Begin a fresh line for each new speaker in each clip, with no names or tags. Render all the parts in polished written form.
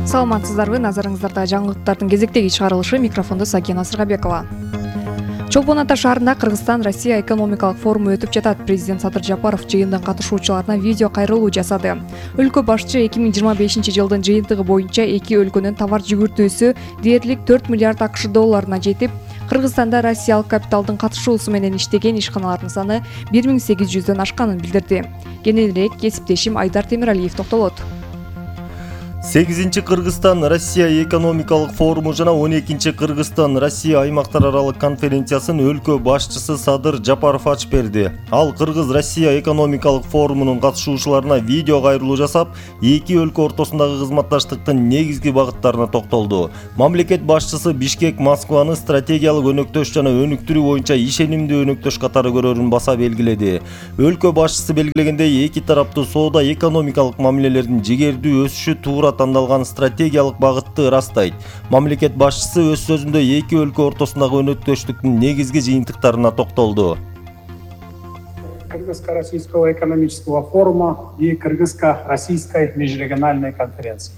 Саламатсыздарбы, назарыңыздарда жаңылыктардын кезектеги чыгарылышы, микрофондо Сакина Сыргабекова. Чолпон Ата шаарында Кыргызстан-Россия экономикалык форуму өтүп жатат. Президент Садыр Жапаров жыйындын катышуучуларына видео кайрылуу жасады. Өлкө башчы 2025 жылдын жыйынтыгы боюнча эки өлкөнүн товар жүгүртүүсү дээрлик 4 миллиард АКШ долларына жетип, Кыргызстанда россиялык капиталдын катышуусу менен иштеген ишканалардын саны 1800дөн ашканын билдирди. Кененирээк кесиптешим Айдар Темиралиев токтолот.
8-чи Кыргызстан-Россия экономикалык форуму жана 12-чи Кыргызстан-Россия аймактар аралык конференциясын өлкө башчысы Садыр Жапаров ачып берди. Ал Кыргыз-Россия экономикалык форумунун катышуучуларына видео кайрылуу жасап, эки өлкө ортосундагы кызматташтыктын негизги багыттарына токтолду. Мамлекет башчысы Бишкек Москваны стратегиялык өнөктөш жана өнүктүрүү боюнча ишенимдүү өнөктөш катары көрөрүн баса белгиледи. Өлкө башчысы белгилегендей, эки тараптуу соода экономикалык мамилелердин жигердүү өсүшү туура тандалган стратегиялык багытты ырастайт. Мамлекет башчысы өз сөзүндө эки өлкө ортосундагы өнөктөштүктүн негизги жыйынтыктарына токтолду.
Кыргызско-российского экономического форума и кыргызско-российской межрегиональной конференции.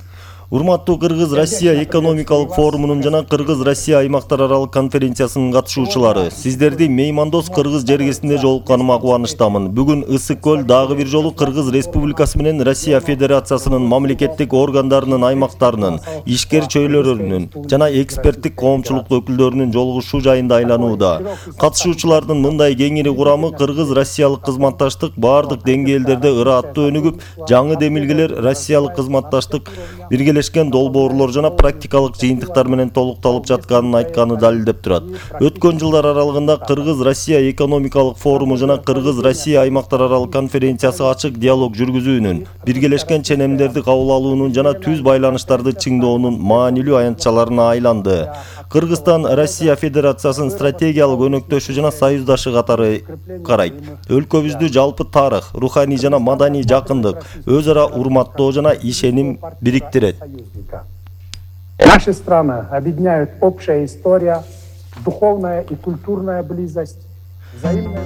Урматтуу Кыргыз-Россия экономикалык форумунун жана Кыргыз-Россия аймактар аралык конференциясынын катышуучулары, сиздерди меймандос Кыргыз жергесинде жолукканыма кубанычтамын. Бүгүн Ысык көл дагы бир жолу Кыргыз Республикасы менен Россия Федерациясынын мамлекеттик органдарынын, аймактарынын, ишкер чөйрөлөрүнүн жана эксперттик коомчулук өкүлдөрүнүн жолугушуу жайында айланууда. Катышуучулардын мындай кеңири курамы Кыргыз-Россиялык кызматташтык бардык деңгээлдерде ырааттуу өнүгүп, жаңы демилгелер Россиялык кызматташтык биргелешкен долбоорлор жана практикалык жыйынтыктар менен толукталып жатканын айтканы далилдеп турат. Өткөн жылдар аралыгында Кыргыз-Россия экономикалык форуму жана Кыргыз-Россия аймактар аралык конференциясы ачык диалог жүргүзүүнүн, биргелешкен ченемдерди кабыл алуунун жана түз байланыштарды чыңдоонун маанилүү аянтчаларына айланды. Кыргызстан Россия Федерациясынын стратегиялык өнөктөшү жана союздашы катары карайт. Өлкөбүздү жалпы тарых, руханий жана маданий жакындык, өз ара урматтоо жана ишеним бириктирет.
Наши страны объединяют общая история, духовная и культурная близость, взаимная.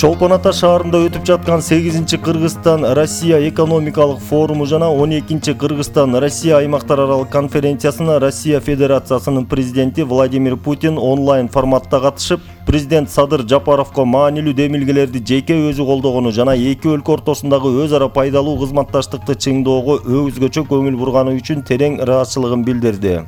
Чолпон Ата шаарында өтүп жаткан 8-чи Кыргызстан-Россия экономикалык форуму жана 12-чи Кыргызстан-Россия аймактар аралык конференциясына Россия Федерациясынын президенти Владимир Путин онлайн форматта катышып, президент Садыр Жапаровго маанилүү демилгелерди жеке өзү колдогону жана эки өлкө ортосундагы өз ара пайдалуу кызматташтыкты чыңдоого өзгөчө көңүл бурганы үчүн терең ыраазычылыгын билдирди.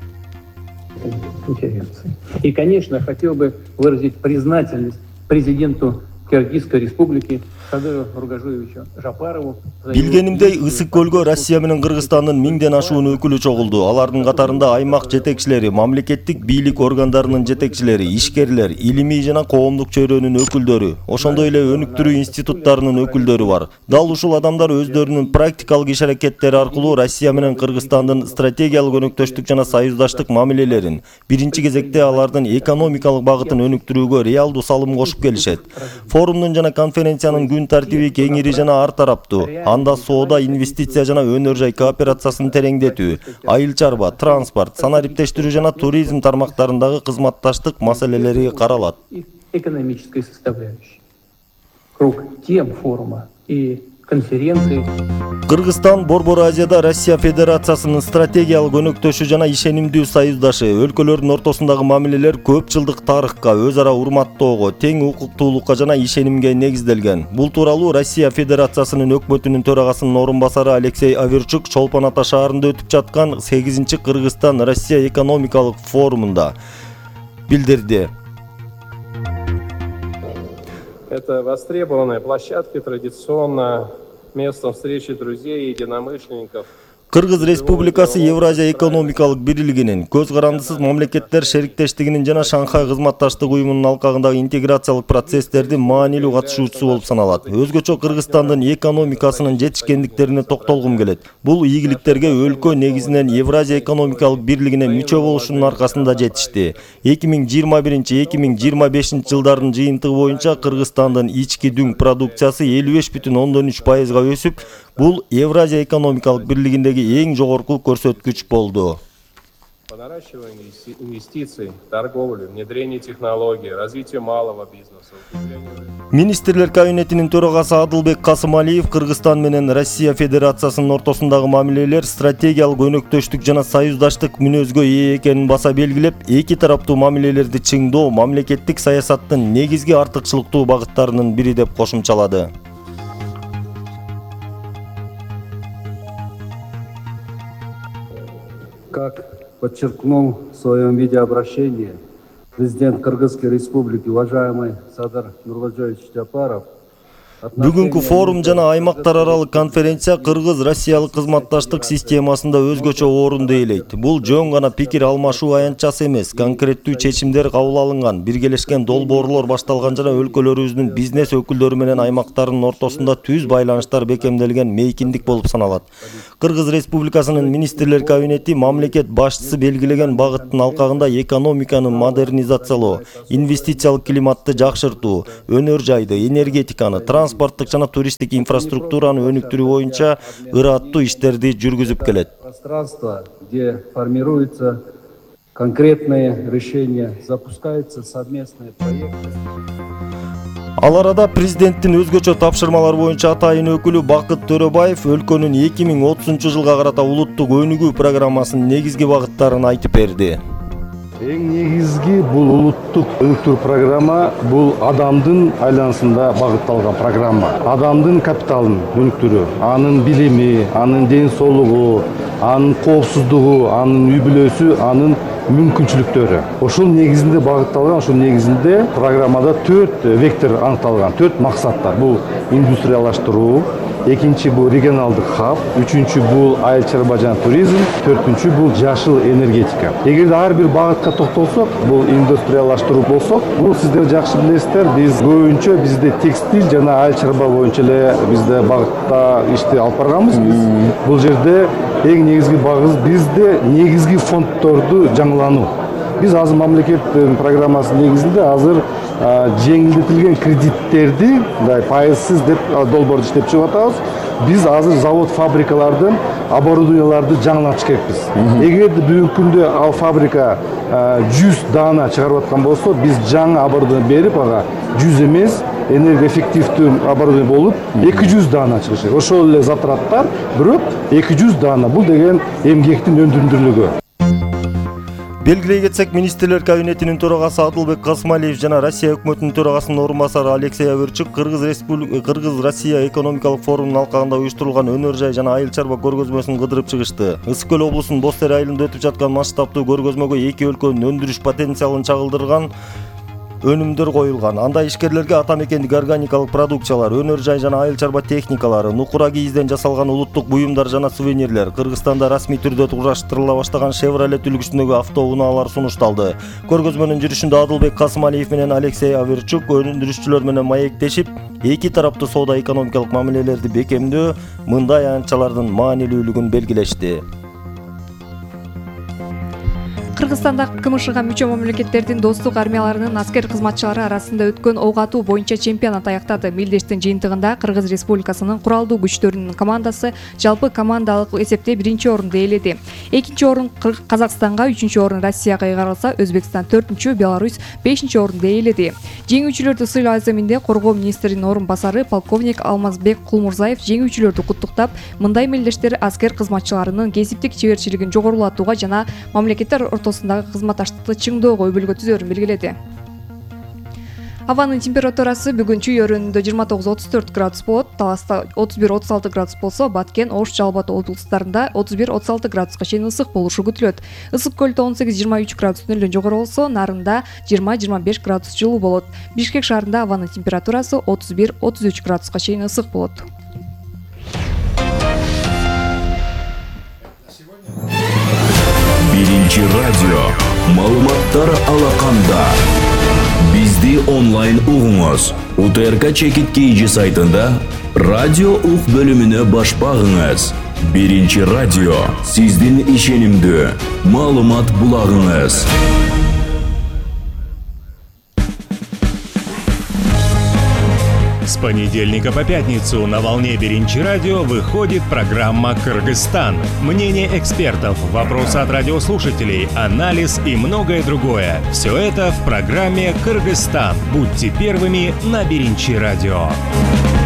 И, конечно, хотел бы выразить признательность президенту Кыргызской республики Садыру Нургажиевичу Жапарову.
Билгенимдей, Ысык көлгө Россия менен Кыргызстандын 1000ден ашуун өкүлү чогулду. Алардын катарында аймак жетекчилери, мамлекеттик бийлик органдарынын жетекчилери, ишкерлер, илимий жана коомдук чөйрөнүн өкүлдөрү, ошондой эле өнүктүрүү институттарынын өкүлдөрү бар. Дал ушул адамдар өздөрүнүн практикалык иш-аракеттери аркылуу Россия менен Кыргызстандын стратегиялык өнөктөштүк жана союздаштык мамилелерин, биринчи кезекте алардын экономикалык багытын өнүктүрүүгө реалдуу салым кошуп келишет. Форумдун жана конференциянын күн тартиби кеңири жана ар тараптуу. Анда соода, инвестиция жана өнөр жай кооперациясын тереңдетүү, айыл чарба, транспорт, санариптештирүү жана туризм тармактарындагы кызматташтык маселелери каралат.
Экономической составляющей. Круг тем форума и конференции.
Кыргызстан Борбор Азияда Россия Федерациясынын стратегиялык өнөктөшү жана ишенимдүү союздашы. Өлкөлөрдүн ортосундагы мамилелер көп жылдык тарыхка, өз ара урматтоого, тең укуктуулукка жана ишенимге негизделген. Бул тууралуу Россия Федерациясынын өкмөтүнүн төрагасынын орун басары Алексей Аверчук Чолпон Ата шаарында өтүп жаткан 8-чи Кыргызстан-Россия экономикалык форумунда билдирди.
Это востребованная площадка, традиционно местом встречи друзей и единомышленников.
Кыргыз Республикасы Евразия экономикалык бирлигинин, көз карандысыз мамлекеттер шериктештигинин жана Шанхай кызматташтык уюмунун алкагындагы интеграциялык процесстердин маанилүү катышуучусу болуп саналат. Өзгөчө Кыргызстандын экономикасынын жетишкендиктерине токтолгум келет. Бул ийгиликтерге өлкө негизинен Евразия экономикалык бирлигине мүчө болушунун аркасында жетишти. 2021-2025 жылдардын жыйынтыгы боюнча Кыргызстандын ички дүң продукциясы 55,3%га өсүп, бул Евразия экономикалык бирлигиндеги эң жогорку көрсөткүч болду.
по наращиванию инвестиций, торговли, внедрению технологий, развитию малого бизнеса, укреплению...
Министрлер кабинетинин төрагасы Адылбек Касымалиев Кыргызстан менен Россия Федерациясынын ортосундагы мамилелер стратегиялык өнөктөштүк жана союздаштык мүнөзгө ээ экенин баса белгилеп, эки тараптуу мамилелерди чыңдоо мамлекеттик саясаттын негизги артыкчылыктуу багыттарынын бири деп кошумчалады.
Как подчеркнул в своем видеообращении президент Кыргызской Республики, уважаемый Садыр Нуркожоевич Жапаров,
Бүгүнкү форум жана аймактар аралык конференция кыргыз-россиялык кызматташтык системасында өзгөчө орунду ээлейт. Бул жөн гана пикир алмашуу аянтчасы эмес, конкреттүү чечимдер кабыл алынган, биргелешкен долбоорлор башталган жана өлкөлөрүбүздүн бизнес өкүлдөрү менен аймактардын ортосунда түз байланыштар бекемделген мейкиндик болуп саналат. Кыргыз Республикасынын министрлер кабинети мамлекет башчысы белгилеген багыттын алкагында экономиканы модернизациялоо, инвестициялык климатты жакшыртуу, өнөр жайды, энергетиканы, транспорттук жана туристтик инфраструктураны өнүктүрүү боюнча ыраттуу иштерди жүргүзүп келет.
Пространство, где формируются конкретные решения, запускаются совместные проекты.
Ал арада президенттин өзгөчө тапшырмалар боюнча атайын өкүлү Бакыт Төрөбаев өлкөнүн 2030 жылга карата улуттук өнүгүү программасынын негизги багыттарын айтып берди.
Эң негизги бул улуттук өнүктүрүү программа бул адамдын айланасында багытталган программа. Адамдын капиталын өнүктүрүү, анын билими, анын ден соолугу, анын коопсуздугу, анын үй бүлөсү, анын мүмкүнчүлүктөрү. Ошол негизинде багытталган, ошол негизинде программада 4 вектор аныкталган, 4 максаттар. Бул индустриялаштыруу, экинчи бул регионалдык хаб, үчүнчү бул айыл чарба жана туризм, төртүнчү бул жашыл энергетика. Эгерде ар бир багытка токтолсок, бул индустриялаштыруу болсок, бул сиздер жакшы билесиздер, биз көбүнчө бизде текстиль жана айыл чарба боюнча эле бизде багытта ишти алып барганбыз. Бул жерде эң негизги багыз бизде негизги фонддорду жаңылануу. Биз азыр мамлекет программасы негизинде азыр жеңилдетилген кредиттерди пайызсыз деп долбоорду иштеп чыгып атабыз. Биз азыр завод фабрикалардын оборудованияларды жаңылатыш керекпиз. Эгерде бүгүнкү күндө ал фабрика 100 даана чыгарып аткан болсо, биз жаңы оборудование берип ага 100 эмес, энергоэффективдүү оборудование болуп 200 даана чыгыш керек. Ошол эле затраттар, бирок 200 даана. Бул деген эмгектин өндүрүмдүүлүгү.
Белгилей кетсек, министрлер кабинетинин төрагасы Адылбек Касымалиев жана Россия өкмөтүнүн төрагасынын орун басары Алексей Аверчук Кыргыз-Россия экономикалык форумунун алкагында уюштурулган өнөр жай жана айыл чарба көргөзмөсүн кыдырып чыгышты. Ысык көл облусунун Бостер айылында өтүп жаткан масштабтуу көргөзмөгө эки өлкөнүн өндүрүш потенциалын чагылдырган өнүмдөр коюлган. Анда ишкерлерге ата мекендик органикалык продукциялар, өнөр жай жана айыл чарба техникалары, нукура кийизден жасалган улуттук буюмдар жана сувенирлер, Кыргызстанда расмий түрдө кураштырыла баштаган Chevrolet үлгүсүндөгү автоунaalар сунушталды. Көргөзмөнүн жүрүшүндө Адылбек Касымалиев менен Алексей Аверчук өндүрүшчүлөр менен маектешип, эки тараптуу соода экономикалык мамилелерди бекемдөө, мындай аянтчалардын маанилүүлүгүн белгилешти.
Кыргызстанда КМШга мүчө мамлекеттердин достук армияларынын аскер кызматчылары арасында өткөн ок атуу боюнча чемпионат аяктады. Мелдештин жыйынтыгында Кыргыз Республикасынын куралдуу күчтөрүнүн командасы жалпы командалык эсепте 1-чи орунду ээледи. 2-чи орун Казакстанга, 3-чү орун Россияга ыйгарылса, Өзбекстан 4-чү, Беларусь 5-чи орунду ээледи. Жеңүүчүлөрдү сыйлоо аземинде коргоо министринин орун басары полковник Алмазбек Кулмурзаев жеңүүчүлөрдү куттуктап, мындай мелдештер аскер кызматчыларынын кесиптик чеберчилигин жогорулатууга жана мамлекеттер ортосундагы кызматташтыкты чыңдоого өбөлгө түзөрүн белгиледи. Абанын температурасы бүгүн Чүй өрөөнүндө 29-34 градус болот, Таласта 31-36 градус болсо, Баткен, Ош, Жалал Абад облустарында 31-36 градуска чейин ысык болушу күтүлөт. Ысык көлдө 18-23 градустун эле жогору болсо, Нарында 20-25 градус жылуу болот. Бишкек шаарында абанын температурасы 31-33 градуска чейин ысык болот.
Биринчи радио маалыматтар алаканда. Бизди онлайн угуңуз. УТРК Чекит KG сайтында радио ук бөлүмүнө баш багыңыз. Биринчи радио сиздин ишенимдүү маалымат булагыңыз.
понедельника по пятницу на волне Биринчи радио выходит программа «Кыргызстан». Мнение экспертов, вопросы от радиослушателей, анализ и многое другое. Все это в программе «Кыргызстан». Будьте первыми на Биринчи радио.